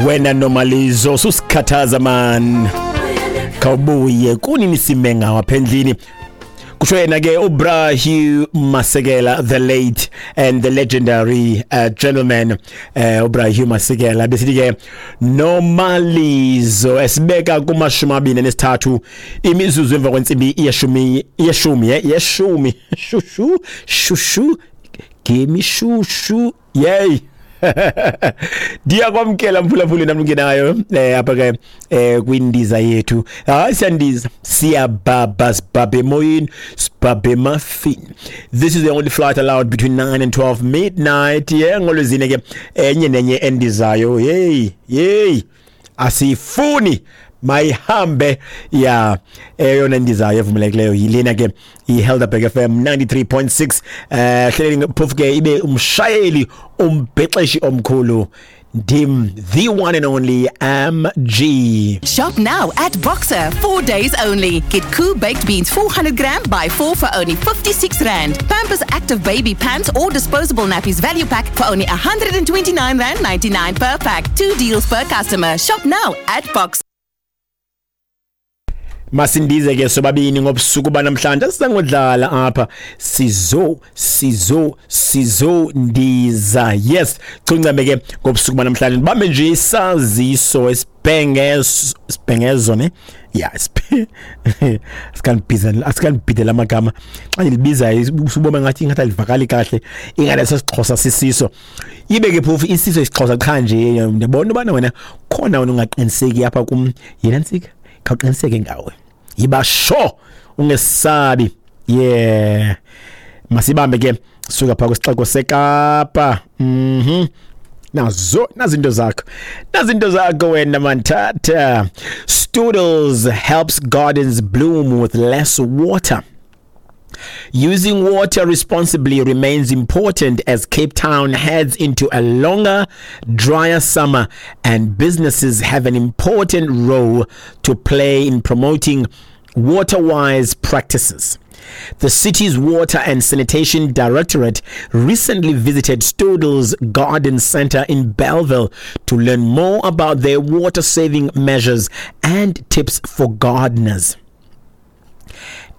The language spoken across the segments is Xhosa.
Wena Nomalizo, susikhathaza man, khawubuye kunini simenga apha endlini. Kusho yena ke uBra Hugh Masekela, the late and the legendary gentleman, uBra Hugh Masekela, besithi ke Nomalizo, esibeka kuma-23 imizuzu emva kwentsimbi yeshumi, yeshumi, yeshumi, shushu shushu gemi shushu, yey. Ndiyakwamkela mphulaphuli namngenayo apha ke kwindiza yethu. Hayi, siyandiza, siyabhabha, sibhabhe emoyeni, sibhabhe emafini. This is the only flight allowed between 9 and 12 midnight, yeah. Ngolwezine ke enye nenye endizayo, hey hey, asiyifuni, mayihambe ya. Eyona ndizayo evumelekileyo yilena ke, iHelderberg FM 93.6. Hleleni phofu ke ibe umshayeli, umbhexeshi omkhulu ndim, the one and only MG. Shop now at Boxer, 4 days only. Get Koo baked beans 400 gram, buy four for only R56. Pampers Active Baby pants or disposable nappies value pack for only R129.99 per pack. Two deals per customer. Shop now at Boxer. Masindize ke sobabini ngobusuku banamhlanje, sisangodlala apha, sizo sizo sizondiza. Yes, chuncame ke ngobusuku banamhlanje, bambe nje isaziso esibhengezo, sibhengezo ne ya, asikanibhiza, asikanibhidela amagama. Xa ndilibiza usubona ngathi alivakali kahle, ingane sesixhosa sisiso, ibe ke phofu isiso isixhosa qha nje. Ndiyabona ubana wena khona wena ungaqiniseki apha kum yena ntsika, khawuqiniseke ngawe, yiba sure, ungesabi. Yeah, masibambe ke suka phaa kwisixeko seKapa. Nazo nazinto zakho, nazinto zakho wena manthatha. Stodels helps gardens bloom with less water. Using water responsibly remains important as Cape Town heads into a longer, drier summer, and businesses have an important role to play in promoting water-wise practices. The city's Water and Sanitation Directorate recently visited Stodels Garden Center in Bellville to learn more about their water saving measures and tips for gardeners.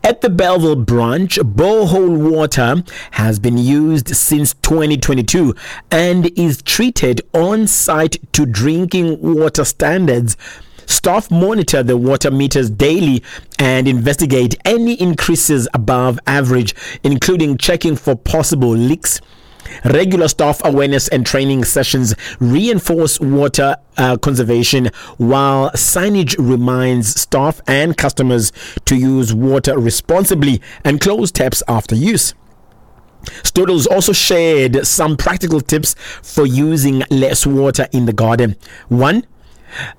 At the Bellville branch, borehole water has been used since 2022 and is treated on site to drinking water standards. Staff monitor the water meters daily and investigate any increases above average, including checking for possible leaks. Regular staff awareness and training sessions reinforce water conservation, while signage reminds staff and customers to use water responsibly and close taps after use. Stodels also shared some practical tips for using less water in the garden. One,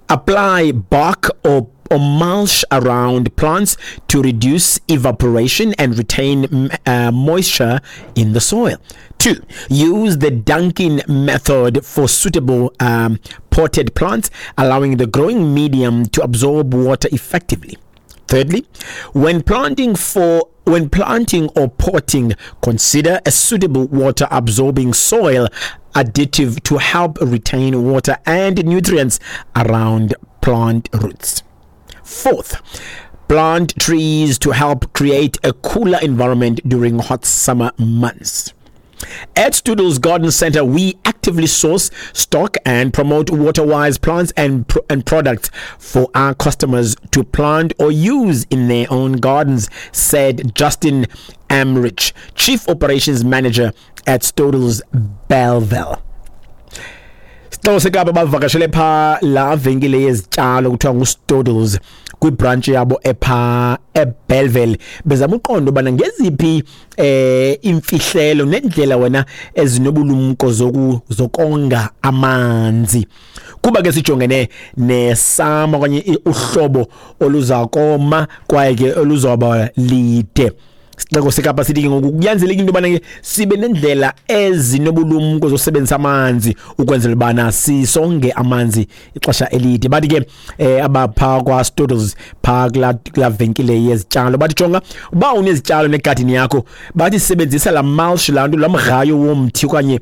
apply bark or mulch around plants to reduce evaporation and retain moisture in the soil. Two, use the dunking method for suitable potted plants, allowing the growing medium to absorb water effectively. Thirdly, when planting or potting, consider a suitable water absorbing soil additive to help retain water and nutrients around plant roots. Fourth, plant trees to help create a cooler environment during hot summer months. At Stodels Garden Center, we actively source, stock, and promote water-wise plants and products for our customers to plant or use in their own gardens, said Justin Amrich, Chief Operations Manager at Stodels Bellville. Sixeko seKapa bavakashele phaa laa venkile yezityalo kuthiwa nguStodels kwibhrantshi yabo ephaa eBellville, bezama uqonda ubana ngeziphi imfihlelo nendlela wena ezinobulumko zokonga amanzi, kuba ke sijongene nesama okanye uhlobo oluza koma kwaye ke oluzawuba lide. Sixeko seKapa sithi ke ngoku kunyanzelekile into yobana ke sibe nendlela ezinobulumko zosebenzisa amanzi ukwenzela ubana sisonge amanzi ixesha elide. Bathi ke abapha kwaStottles phaa kulaa venkile yezityalo, bathi jonga uba unezityalo negadini yakho, bathi sebenzisa laa mulch, laa nto, laa mgrayo womthi okanye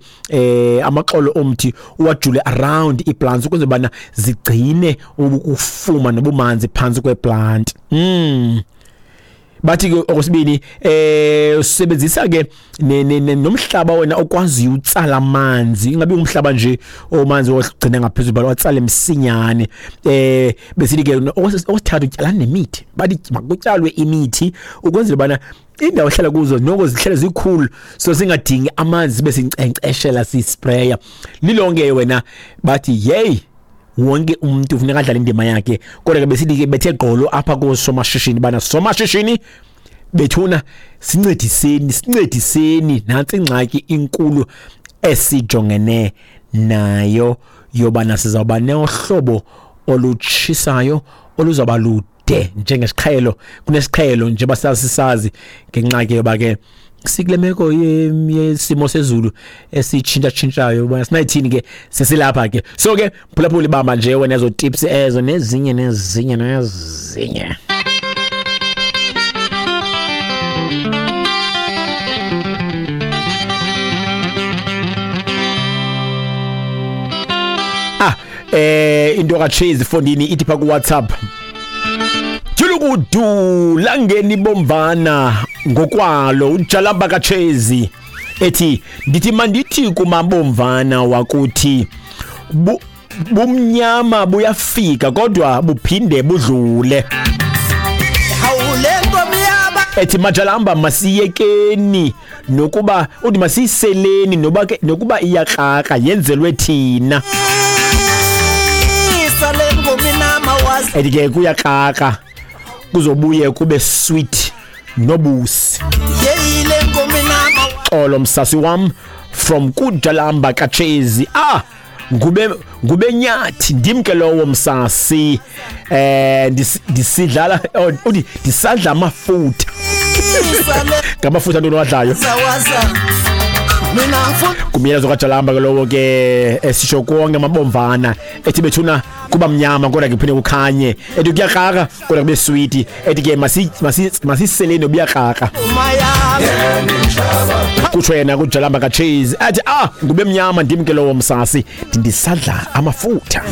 amaxolo omthi, uwajule around iiplants ukwenzela ubana zigcine ukufuma nobumanzi phantsi kweplant. Bathi ke okwesibini, sebenzisa ke nomhlaba wena okwaziyo utsala amanzi, ingabi umhlaba nje omanzi ogcina ngaphezulu, but watsale msinyane. Besithi ke okwesithathu, tyalani nemithi. Bathi makutyalwe imithi ukwenzela ubana indawo ehlala kuzo noko zihlale zikhulu, so singadingi amanzi sibe sinkcenkceshela, sispraya. Lilonke wena bathi yeyi, wonke umuntu ufuneka adlale indima yakhe. Kodwa ke besithi ke bethe gqolo apha koosomashishini bana somashishini bethuna, sincediseni, sincediseni, nantsi ingxaki inkulu esijongene nayo yobana sizawuba nohlobo olutshisayo oluzawuba lude njengesiqhelo kunesiqhelo, njengoba sasisazi, ngenxa ke yoba ke sikule meko yesimo sezulu esitshintshatshintshayo. Uba sinayithini ke, sesilapha ke. So ke phulaphula, ibamba nje wena ezo tips ezo nezinye nezinye nezinye. Into kaChase fondini ithi pha ku WhatsApp, Julukudu langeni bomvana ngokwalo uJalamba kaChezi ethi ndithi mandithi kumabomvana wakuthi bumnyama buyafika kodwa buphinde budlule. Ethi majalamba masiyekeni nokuba uthi masiyiseleni noba ke nokuba iyakraka yenzelwe thina. Ethi ke kuyakraka kuzobuye kube sweet nobusi. Xolo msasi wam from kujalamba kaChezi. Ngube nyathi ndimke lowo msasi, ndisidlala uthi ndisadla amafutha. Ngamafutha ntoni wadlayo? Kumyalezo kaJalamba ke lowo ke esisho konke amabomvana, ethi bethuna kuba mnyama kodwa ke kuphinde kukhanye, ethi kuyakraka kodwa kube sweet, ethi ke masiseleni obuyakraka, kutsho yena kuJalamba kaChase. Athi ngube mnyama ndimke lowo msasi, ndisadla amafutha.